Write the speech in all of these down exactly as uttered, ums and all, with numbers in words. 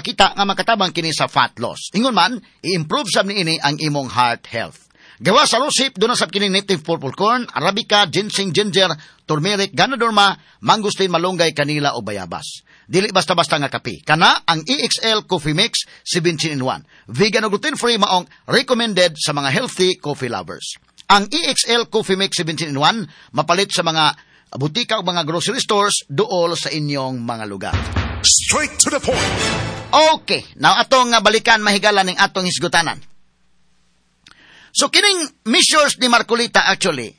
gipakita nga makatabang kini sa fat loss. Ingon man, i-improve sab niini ang imong heart health. Gawa sa rosehip, duna sab kini native purple corn, arabica, ginseng, ginger, turmeric, ganoderma, mangosteen, malunggay, kanila o bayabas. Dili basta-basta nga kape. Kana ang E X L Coffee Mix seventeen in one. Vegan o gluten-free, maong recommended sa mga healthy coffee lovers. Ang E X L Coffee Mix seventeen in one mapalit sa mga butika o mga grocery stores duol sa inyong mga lugar. Straight to the point. Okay, now atong nga balikan, mahigala, ning atong hisgutanan. So kining measures ni Marcoleta, actually,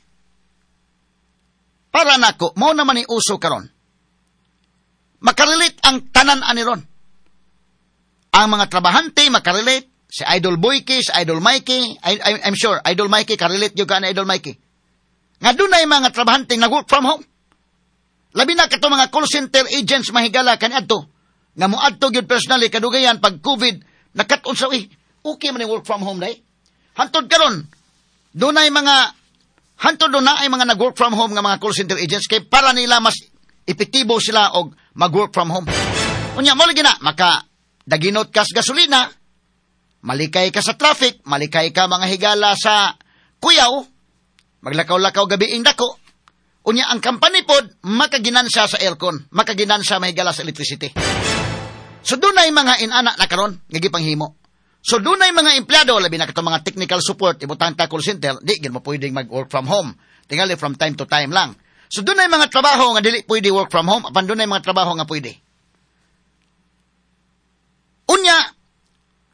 para nako, mao naman ni uso karon. Makarelate ang tanan ani ron. Ang mga trabahante makarelate, si Idol Boyke, si Idol Mikey, I, I, I'm sure Idol Mikey karelate gyud ka na, Idol Mikey. Nga dunay mga trabahante nag-work from home. Labi na kato mga call center agents, mahigala, kaniadto nga moadto gyud personally kadugayan pag COVID, nakat-on sa eh, okay man yung work from home dai. Hantod karon dunay mga hantod doon na ay mga nag-work from home nga mga call center agents kay para nila mas epektibo sila og mag-work from home. Unya mo lagi na maka daginot ka sa gasolina, malikay ka sa traffic, malikay ka, mga higala, sa kuyaw, maglakaw-lakaw gabi dako. Unya ang company pod makaginansya sa aircon, makaginansya, mahigala, sa electricity. So dunay mga inana na karon nga gipanghimo. So dunay mga empleyado, labi na katong mga technical support, ibutang ta call center, di gyud mo pwedeng mag-work from home. Tingali from time to time lang. So dunay mga trabaho nga dili pwede work from home, apan dunay mga trabaho nga pwede. Unya,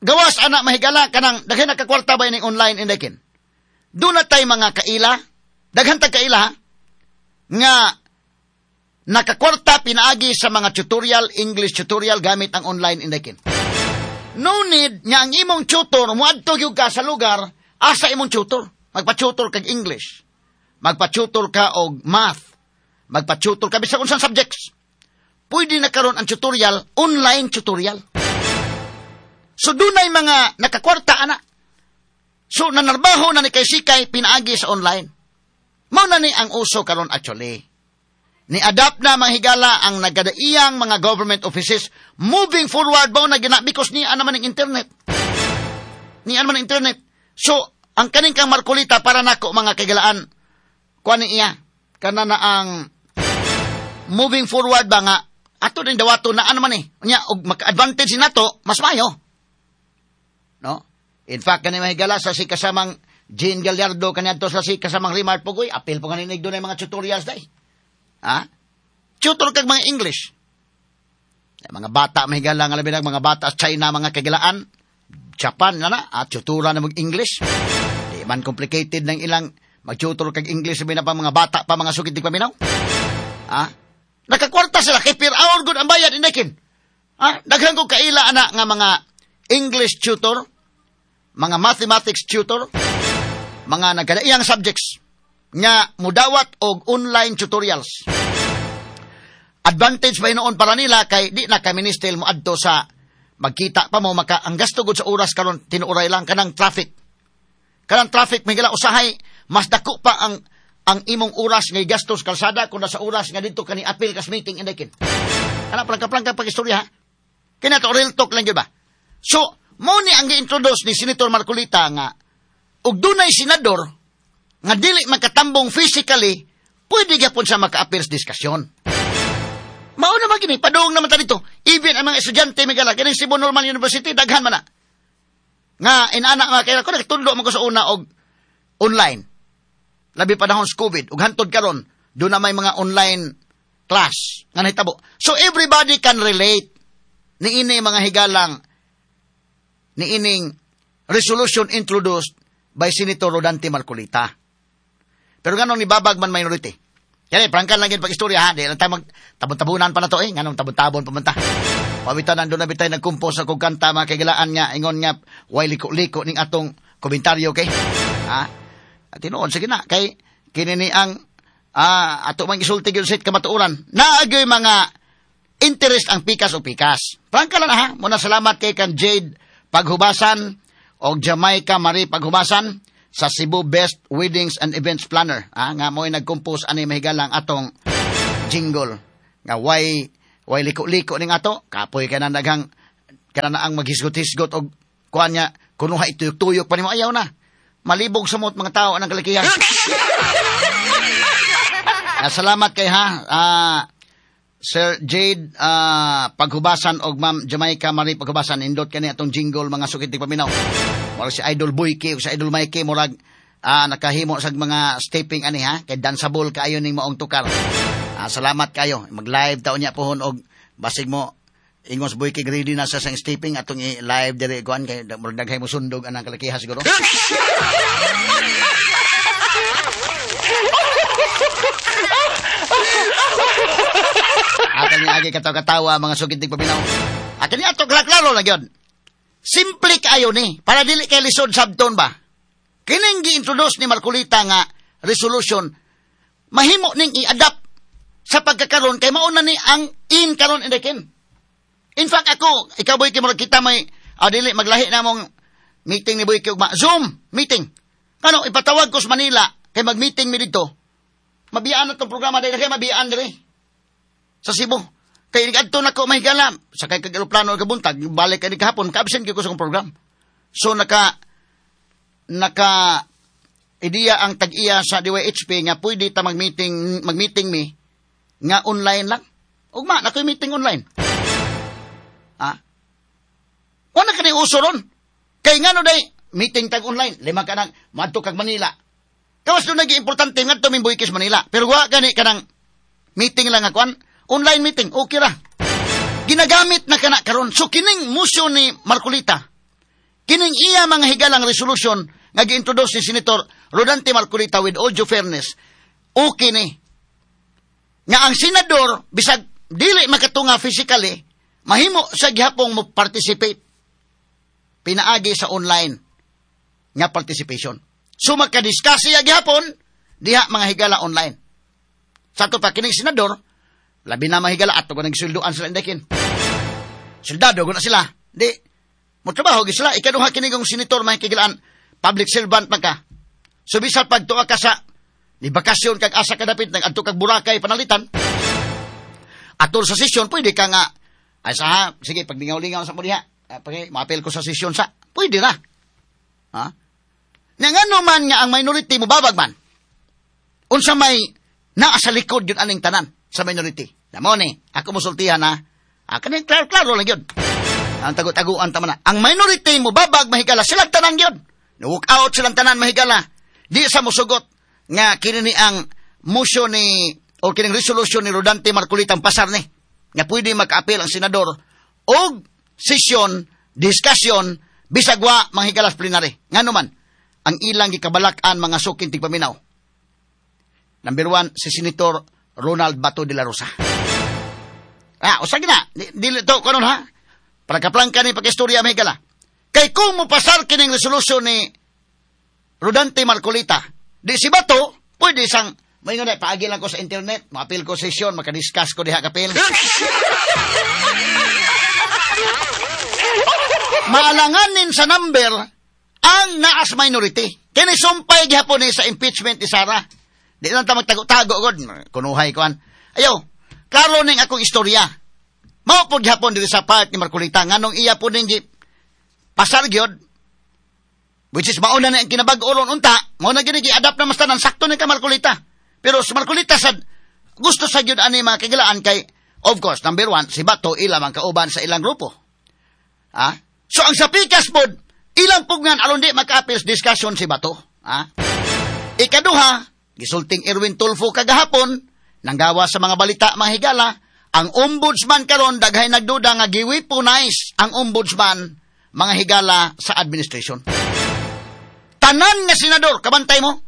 gawas ana, mahigala, kanang daghan nakakwarta ba ning online indekin. Duna tay mga kaila, daghan tag kaila ha, nga nakakwarta pinaagi sa mga tutorial, English tutorial gamit ang online indekin. No need nga ang imong tutor moadto gyud ka sa lugar asa imong tutor. Magpa-tutor kag English. Magpa-tutor ka og math. Magpa-tutor ka bisag unsang subjects. Pwede na karon ang tutorial, online tutorial. So dunay mga nakakwarta ana. So nanarbaho na ni kay sikay pinaagi sa online. Mao na ni ang uso karon actually. Ni-adapt na, mga higala, ang nagkadaiyang mga government offices moving forward ba na gina because niya naman ang internet. Niya naman ang internet. So, ang kaning kang Marcoleta, para nako, mga kaigalaan, kuan ni iya kana na ang moving forward ba nga ato din dawato na ano man eh. Unya og maka-advantage nato mas mayo. No? In fact, kani, mahigala, sa si kasamang Jean Gallardo kaniadto sa si kasamang Remart Pugoy, apil po kaninig doon mga tutorials day. Ha? Tutor kag mga English. Mga bata, mahigala, nga labi na mga bata sa China, mga kagilaan, Japan na na, at tutora na mag-English. Di man complicated ng ilang mag-tutor kag English, sabi na pa mga bata pa, mga sukit di paminaw. Ha? Nakakwarta sila kay per hour gud ang bayad indekin. Ha? Daghan ko kaila ana nga mga English tutor, mga mathematics tutor, mga nagkadaiyang subjects nga mudawat og online tutorials. Advantage ba noon para nila kay di na kami still mo adto sa magkita pa mo, maka ang gasto gud sa oras karon tinuoray lang kanang traffic. Kanang traffic may gala, usahay mas dako pa ang ang imong oras nga gastos kalsada kung nasa oras nga didto kani apil kas meeting indekin. Kana plangka-plangka pag istorya ha. Kina to real talk lang gyud ba. So, mo ni ang gi-introduce ni Senator Marcoleta nga og dunay senador nga dili makatambong physically, pwede gyapon siya maka-appear sa diskusyon. Mao naman gini, padung naman ta dito. Even ang mga estudyante may gala, kining Cebu Normal University, daghan man na. Nga, inana nga, kaya ko nagtudlo man ko sa una og online. Labi panahon sa COVID, ug hantod karon, doon na may mga online class nga nahitabo. So everybody can relate ni ini, mga higalang, ni ining resolution introduced by Senator Rodante Marcoleta. Pero nganong nibabag man minority? Kaya prangkan lang yun pag istorya ha, di lang tayo mag tabon-tabunan pa na to eh, nganong tabon-tabon pa man ta. Pawitan nandun na bitay nagkumpos sa kog kanta, mga kaigalaan, nga ingon nga way liko-liko ning atong komentaryo kay. Ha? At tinuod sige na kay kini ni ang ah, ato man gisulti gyud sa kamatuoran. Naagyoy mga interest ang pikas o pikas. Prangka lang ha. Muna salamat kay kan Jade Paghubasan o Jamaica Marie Paghubasan sa Cebu Best Weddings and Events Planner. Ah, nga mo'y nag-compose ani, mahigalang, atong jingle. Nga way way liko-liko ning ato, kapoy ka na daghang Kana na ang maghisgot-hisgot og kuan niya, kunuha ituyok-tuyok pa nimo, ayaw na. Malibog sa mot mga tao anang kalakihan. Ah, salamat kay ha. Ah, Sir Jade ah, Paghubasan og Ma'am Jamaica Marie Paghubasan, indot kani atong jingle, mga sukit paminaw. Murag si Idol Boyke ug si Idol Mikey, murag ah, nakahimo sa mga stepping ani ha, kay danceable kaayo ning maong tukar. Ah, salamat kayo. Mag-live taon niya pohon og basig mo ingos Boyke, ready na sa sang stepping atong i-live diri kuan, kay murag daghay mo sundog anang kalakiha siguro. Akan ni agi katawa-katawa, mga sugid paminaw. Akan ni ato klaro na gyud. Simple kaayo ni para dili kay lisod sabton ba. Kining gi-introduce ni Marcoleta nga resolution, mahimo ning i-adapt sa pagkakaron kay mauna ni ang in karon indekin. In fact ako, ikaw Boy, murag kita may ah, dili maglahi na mong meeting ni Boy ugma Zoom meeting. Kano ipatawag ko sa Manila kay mag-meeting mi didto. Mabiyaan na tong programa dahil kay mabiyaan diri sa Cebu. Kay adto na ko mahigala sakay kag eroplano kabuntag, balik kani kahapon, ka-absent gyud ko sa akong program. So naka naka ideya ang tag-iya sa D Y H P nga pwede ta mag-meeting, mag-meeting mi nga online lang. Ugma na koy meeting online. Ah. Wala kani uso ron. Kay ngano day meeting tag online, lima ka nang madto kag Manila. Kawas do nagi importante ngadto min Boykis Manila. Pero wa gani kanang meeting lang akuan, online meeting, okay ra. Ginagamit na kana karon. So kining motion ni Marcoleta, kining iya mga higalang resolution nga gi-introduce ni Senator Rodante Marcoleta, with all due fairness, okay ni. Nga ang senador bisag dili makatunga physically, mahimo sa gihapong mo participate pinaagi sa online nga participation. So makadiscuss siya gihapon diha mga higala online. Sa ato pa kining senador, labi na mahigala ato ko nagsulduan sila indekin. Soldado guna sila. Di mo trabaho gyud sila. Ikaduha kini kong senator mahikigilaan, public servant man ka. So bisan pagtuwa ka sa ni bakasyon kag asa ka dapit nag-adto kag Boracay panalitan. Atol sa sesyon pwede ka nga ay sa ha, sige paglingaw-lingaw sa mo diha. Pag maapil ko sa sesyon sa, pwede ra. Ha? Nga ngano man nga ang minority mo babag man. Unsa may naa sa likod yun aning tanan sa minority. Namo ni, ako mosultihan ha. Ah, kaning klaro-klaro lang yun. Ang tago-taguan tama na. Ang minority mo babag mahigala silang tanan yun. Walk out silang tanan mahigala. Di sa musugot nga kini ni ang motion ni o kining resolution ni Rodante Marcoleta ang pasar ni nga pwede maka-appeal ang senador og session, discussion bisag wa manghigalas plenary. Ngano man ang ilang gikabalak-an mga suking tigpaminaw. Number one, si Senator Ronald Bato de la Rosa. Ah, usag na. Dili to kanon ha. Para kaplangka ni pag-istorya mahigala. Kay kung mopasar kining resolution ni Rodante Marcoleta, di si Bato, pwede sang may nga na, paagi lang ko sa internet, maapil ko session, makadiscuss ko diha kapil. Maalanganin sa number ang naas minority. Kini sumpay gihapon ni sa impeachment ni Sara. Di lang ta magtago-tago god, kunuhay kuan. Ayaw, klaro ning akong istorya. Mao pod gihapon diri sa part ni Marcoleta nganong iya pod ning pasar gyud, which is mauna na ang kinabag-o ron unta, mao na gyud gi-adapt na mas tanan sakto ni ka Marcoleta. Pero si Marcoleta sad gusto sa gyud ani mga kagilaan kay of course number one si Bato ila man kauban sa ilang grupo. Ah? So ang sa pikas pod ilang pugnan aron di maka-appeals discussion si Bato. Ah? Ikaduha, gisulting Erwin Tulfo kagahapon nanggawa sa mga balita mga higala, ang ombudsman karon daghay nagduda nga gi-weaponize ang ombudsman mga higala sa administration. Tanan nga senador, kabantay mo.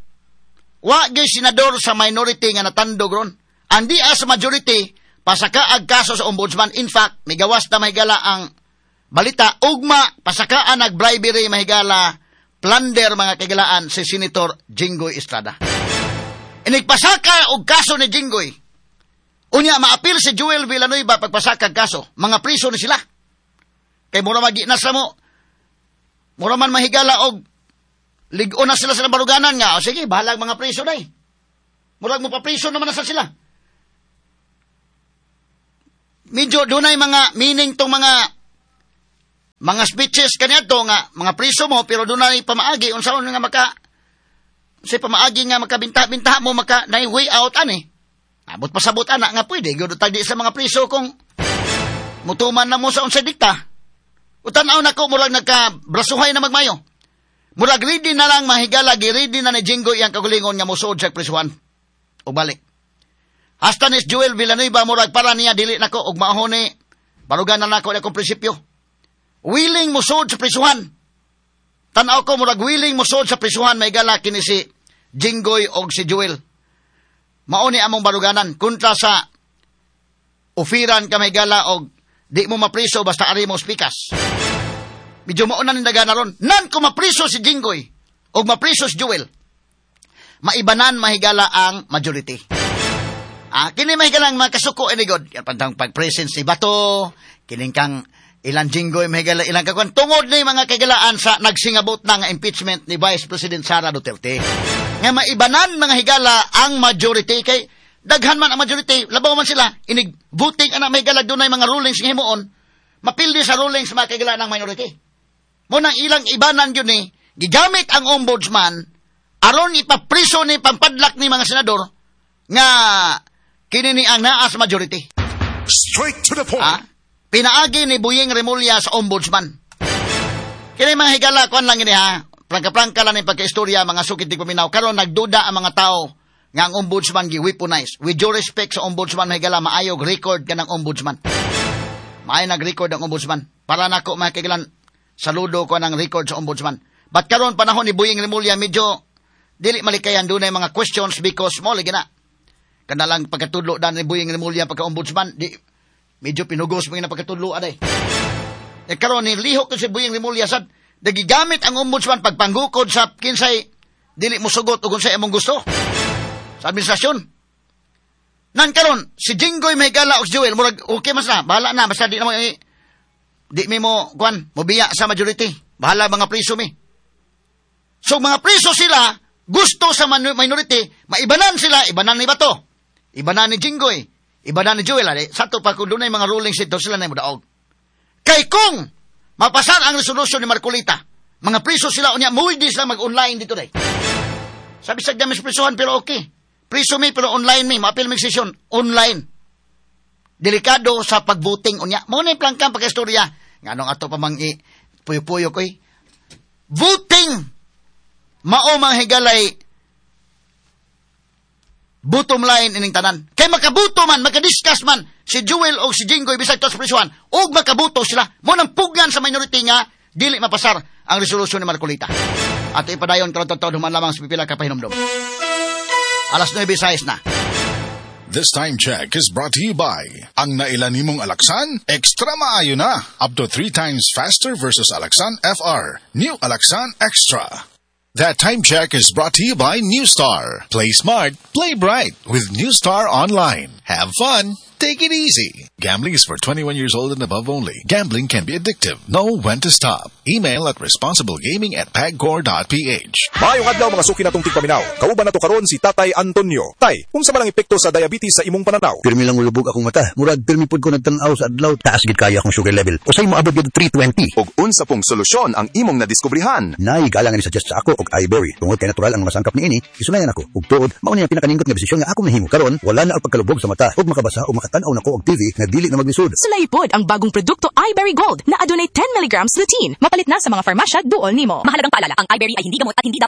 Wa gyud senador sa minority nga natandog ron. Andi sa majority pasakaag kaso sa ombudsman. In fact, migawas na mahigala ang balita ugma pasakaan nag bribery mahigala plunder mga kagilaan si Senator Jinggoy Estrada. Inigpasaka og kaso ni Jinggoy. Unya maapil si Joel Villanueva pagpasaka kaso, mga priso ni sila. Kay mura magi na sa mo. Mura man mahigala og lig-on na sila sa baruganan nga. O sige, bahalag mga priso day. Murag mo pa priso naman na sa sila. Medyo dunay mga meaning tong mga Mga speeches kaniadto nga mga priso mo pero dunay pamaagi unsaon nga maka sa pamaagi nga makabinta-binta mo maka nay way out ani. Abot pasabot ana nga pwede gyud tagdi sa mga priso kung mutuman na mo sa unsay dikta. Utan-aw nako murag nagka brasuhay na magmayo. Murag ready na lang mahigala, gi-ready na ni Jinggoy iyang kagulingon nga musuod sa prisuhan. O balik. Hasta ni Joel Villanueva murag para niya dili nako og mao ni barugan na nako akong prinsipyo. Willing musuod sa prisuhan. Tan-aw ko murag willing musuod sa prisuhan mahigala kini si Jinggoy og si Joel. Mao ni among baruganan kontra sa ofiran ka mahigala og di mo mapriso basta ari mo spikas. Medyo mao na ning ron. Nan kung mapriso si Jinggoy o mapriso si Joel, maibanan mahigala ang majority. Ah, kini mahigala ang mga kasuko ini god. Yan pantang pag-presence ni Bato, kining kang ilang Jinggoy mahigala ilang kakuan. Tungod ni mga kaigalaan sa nagsingabot na nga impeachment ni Vice President Sara Duterte. Nga maibanan mga higala ang majority kay daghan man ang majority, labaw man sila, inig voting ana mahigala dunay mga rulings nga himuon, mapildi sa rulings mga kaigala ng minority. Munang ilang ibanan yun ni, gigamit ang ombudsman, aron ipapriso ni pampadlak ni mga senador, nga kini ni ang naa sa majority. Straight to the point. Ah, pinaagi ni Buying Remulla sa ombudsman. Kini mga higala, kuan lang ini ha, prangka-prangka lang ni pagkaistorya, mga sukit di paminaw. Karon nagduda ang mga tao nga ang ombudsman gi-weaponize. With due respect sa ombudsman, mga higala, maayog record ka ng ombudsman. Maayo nag-record ang ombudsman. Para nako mga kaigalan, saludo ko ng record sa ombudsman. But karon panahon ni Buying Remulla, medyo dili malikayan dunay mga questions because mo lagi na. Kanalang pagkatudlo dan ni Buying Remulla pagka-ombudsman, di medyo pinugos mo na pagkatudlo aday. E karon ni lihok ko si Buying Remulla sad nagigamit ang ombudsman pagpanggukod sa kinsay dili mo sugot ug unsay among gusto sa administrasyon. Nan karon si Jinggoy mahigala og si Joel murag okay mas na, bahala na basta di na mo eh, di mi mo kuan mobiya sa majority. Bahala mga priso mi. So mga priso sila gusto sa minority, maibanan sila, ibanan ni Bato. Ibanan ni Jinggoy, ibanan ni Joel. Ade, sato pa kung dunay mga rulings ito sila na modaog. Kay kung mapasar ang resolution ni Marcoleta, mga priso sila unya muwidi sila mag-online dito day. Sabi sa dami sa prisuhan pero okay. Priso mi pero online mi, maapil mig session online. Delikado sa pagvoting unya. Mo na plangkang pagkaistorya. Nganong ato pa mang i puyo-puyo koy. Voting mao mga higalay bottom line ining tanan. Kay makabuto man, makadiscuss man si Joel o si Jinggoy bisag to sa prisuhan, og makabuto sila. Mo nang pugnan sa minority nga dili mapasar ang resolusyon ni Marcoleta. Ato ipadayon karon taon human lamang sa pipila ka pahinumdom. Alas nuwebe sais na. This time check is brought to you by ang naila nimong Alaxan, extra maayo na. Up to three times faster versus Alaxan F R. New Alaxan Extra. That time check is brought to you by New Star. Play smart, play bright with New Star Online. Have fun, take it easy. Gambling is for twenty-one years old and above only. Gambling can be addictive. Know when to stop. Email at responsiblegaming at pagcor dot P H. Maayong adlaw, mga suki natong tigpaminaw. Kauban nato karon si Tatay Antonio. Tay, unsa man ang epekto sa diabetes sa imong pananaw? Pirmi lang mulubog akong mata. Murag pirmi pud ko nagtan-aw sa adlaw. Taas gid kaayo akong sugar level. Usay moabot gid three twenty. Og unsa pong solusyon ang imong nadiskubrihan? Naay galang ni suggest sa ako og iBerry. Tungod kay natural ang mga sangkap niini, isulayan ako. Ug tuod, mao ni ang pinakanindot nga desisyon nga akong nahimo. Karon, wala na ang pagkalubog sa mata ug makabasa o makatan-aw nako og T V nga dili na maglisod. Sulayi pod ang bagong produkto iBerry Gold na adunay ten milligrams lutein. Mapalit na sa mga farmasya duol nimo. Mahalagang paalala, ang iBerry ay hindi gamot at hindi dapat